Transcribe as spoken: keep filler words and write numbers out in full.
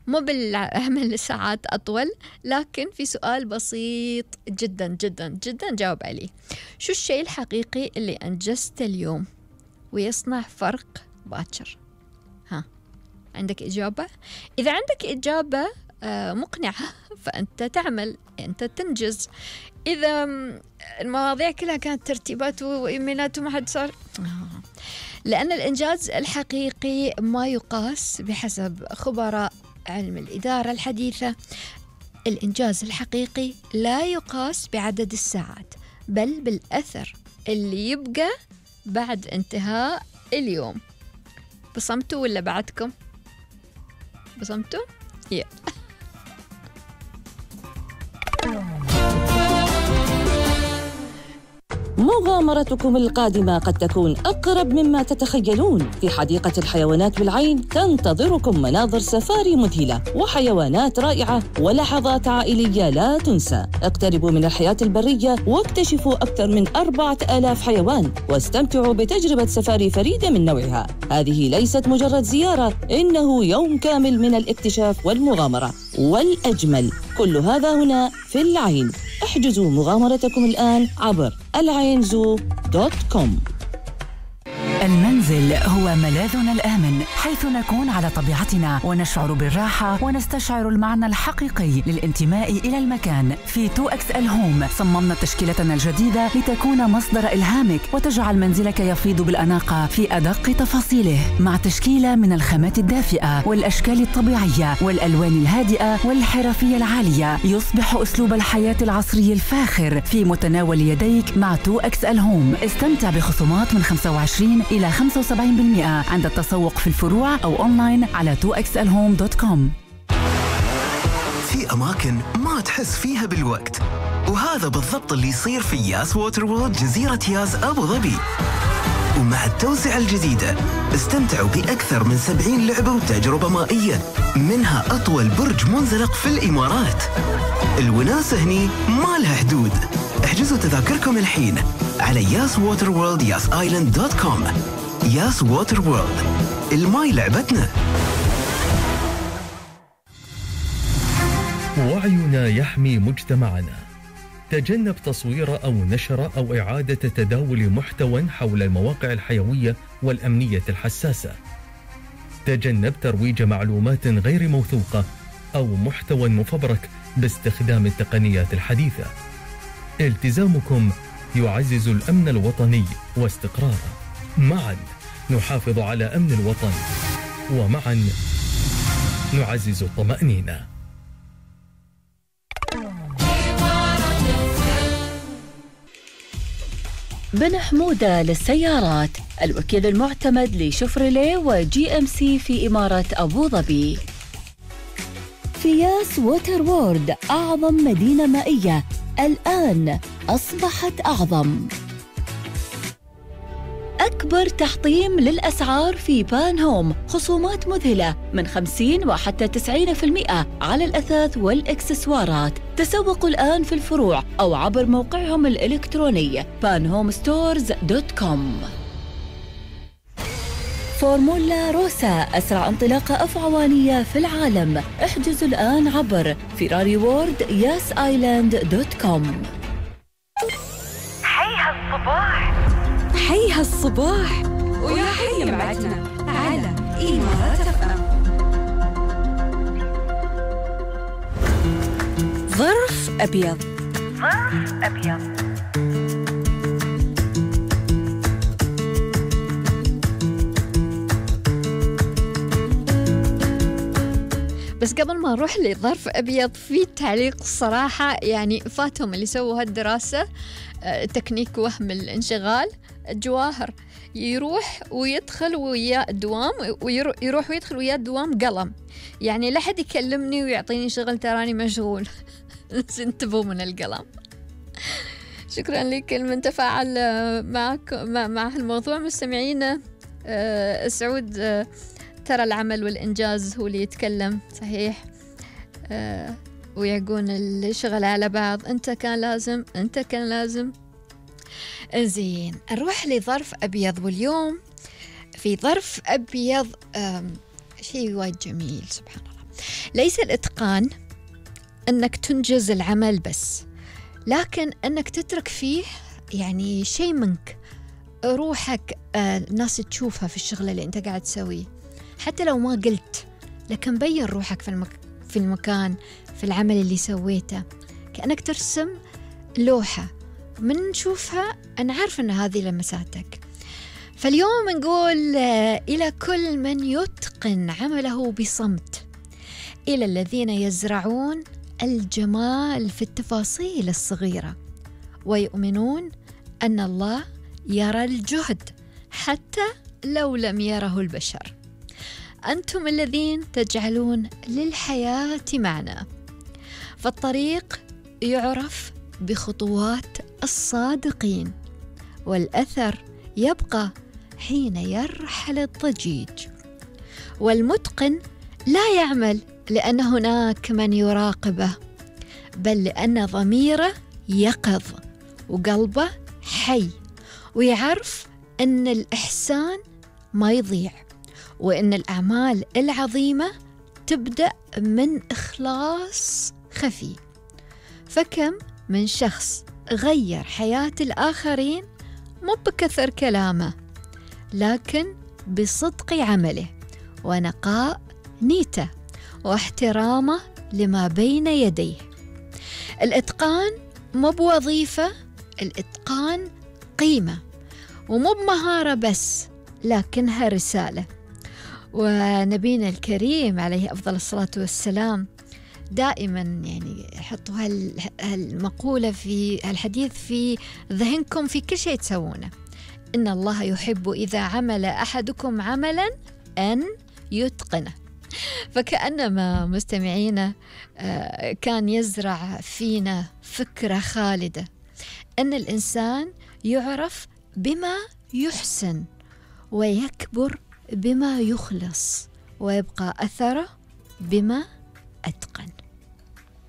مو بالعمل ساعات أطول، لكن في سؤال بسيط جدا جدا جدا جاوب عليه. شو الشيء الحقيقي اللي أنجزت اليوم ويصنع فرق باكر؟ ها، عندك إجابة؟ إذا عندك إجابة مقنعة فأنت تعمل، أنت تنجز. إذا المواضيع كلها كانت ترتيبات وإيميلات وما حد صار، لأن الإنجاز الحقيقي ما يقاس بحسب خبراء علم الإدارة الحديثة. الإنجاز الحقيقي لا يقاس بعدد الساعات، بل بالأثر اللي يبقى بعد انتهاء اليوم. بصمتوا ولا بعدكم؟ بصمتوا؟ يلا. مغامرتكم القادمة قد تكون أقرب مما تتخيلون. في حديقة الحيوانات بالعين تنتظركم مناظر سفاري مذهلة وحيوانات رائعة ولحظات عائلية لا تنسى. اقتربوا من الحياة البرية واكتشفوا أكثر من أربعة آلاف حيوان واستمتعوا بتجربة سفاري فريدة من نوعها. هذه ليست مجرد زيارة، إنه يوم كامل من الاكتشاف والمغامرة. والأجمل كل هذا هنا في العين. احجزوا مغامرتكم الآن عبر العين زو دوت كوم. المنزل هو ملاذنا الآمن، حيث نكون على طبيعتنا ونشعر بالراحة ونستشعر المعنى الحقيقي للانتماء إلى المكان. في تو إكس إل هوم صممنا تشكيلتنا الجديدة لتكون مصدر إلهامك وتجعل منزلك يفيض بالأناقة في أدق تفاصيله، مع تشكيلة من الخامات الدافئة والأشكال الطبيعية والألوان الهادئة والحرفية العالية. يصبح أسلوب الحياة العصري الفاخر في متناول يديك مع تو إكس إل هوم. استمتع بخصومات من خمسة وعشرين إلى خمسة وسبعين بالمئة عند التسوق في الفروع أو أونلاين على تو إكس إل هوم دوت كوم. في أماكن ما تحس فيها بالوقت، وهذا بالضبط اللي يصير في ياس ووتر وورلد جزيرة ياس أبو ظبي. ومع التوسعة الجديدة استمتعوا بأكثر من سبعين لعبة وتجربة مائية، منها أطول برج منزلق في الإمارات. الوناسة هني ما لها حدود. احجزوا تذاكركم الحين على ياس ووتر وورلد ياس آيلاند دوت كوم. ياس ووتر وورلد، الماي لعبتنا. وعينا يحمي مجتمعنا. تجنب تصوير أو نشر أو إعادة تداول محتوى حول المواقع الحيوية والأمنية الحساسة. تجنب ترويج معلومات غير موثوقة أو محتوى مفبرك باستخدام التقنيات الحديثة. التزامكم يعزز الأمن الوطني واستقراره. معا نحافظ على أمن الوطن، ومعا نعزز الطمأنينة. بن حمودة للسيارات، الوكيل المعتمد لشفرليه وجي ام سي في إمارة أبو ظبي. في ياس ووتر وورلد، أعظم مدينة مائية الآن أصبحت أعظم. أكبر تحطيم للأسعار في بان هوم، خصومات مذهلة من خمسين وحتى تسعين بالمئة على الأثاث والإكسسوارات. تسوقوا الآن في الفروع أو عبر موقعهم الإلكتروني بان هوم ستورز دوت كوم. فورمولا روسا، أسرع انطلاقة أفعوانية في العالم. احجزوا الآن عبر فيراري وورد ياس آيلاند دوت كوم. حي هالصباح، حي هالصباح، ويا حي معتنا على إمارات إف إم. ظرف أبيض. ظرف أبيض. بس قبل ما نروح لظرف أبيض، في تعليق صراحة يعني فاتهم اللي سووا هالدراسة، تكنيك وهم الانشغال. جواهر يروح ويدخل وياه دوام، ويروح ويدخل وياه دوام قلم، يعني لا حد يكلمني ويعطيني شغل تراني مشغول. انتبهوا من القلم. شكرا لك من تفاعل معك مع الموضوع. مستمعينا، سعود، ترى العمل والإنجاز هو اللي يتكلم صحيح، آه ويعقون الشغل على بعض. أنت كان لازم، أنت كان لازم. زين، نروح لظرف أبيض. واليوم في ظرف أبيض شيء وايد جميل، سبحان الله. ليس الإتقان أنك تنجز العمل بس، لكن أنك تترك فيه يعني شيء منك، روحك آه الناس تشوفها في الشغل اللي أنت قاعد تسويه، حتى لو ما قلت، لكن بين روحك في, المك... في المكان، في العمل اللي سويته، كأنك ترسم لوحة من نشوفها أنا عارف أن هذه لمساتك. فاليوم نقول آه إلى كل من يتقن عمله بصمت، إلى الذين يزرعون الجمال في التفاصيل الصغيرة ويؤمنون أن الله يرى الجهد حتى لو لم يره البشر. أنتم الذين تجعلون للحياة معنى، فالطريق يعرف بخطوات الصادقين، والأثر يبقى حين يرحل الضجيج. والمتقن لا يعمل لأن هناك من يراقبه، بل لأن ضميره يقظ وقلبه حي، ويعرف أن الإحسان ما يضيع، وأن الأعمال العظيمة تبدأ من إخلاص خفي. فكم من شخص غير حياة الآخرين مو بكثر كلامه، لكن بصدق عمله ونقاء نيته واحترامه لما بين يديه. الإتقان مو بوظيفة، الإتقان قيمة، ومو بمهارة بس، لكنها رسالة. ونبينا الكريم عليه أفضل الصلاة والسلام دائما يعني يحطوا هالمقولة في الحديث في ذهنكم في كل شيء تسوونه: إن الله يحب إذا عمل أحدكم عملا أن يتقنه. فكأنما مستمعينا كان يزرع فينا فكرة خالدة أن الإنسان يعرف بما يحسن ويكبر بما يخلص، ويبقى أثره بما أتقن.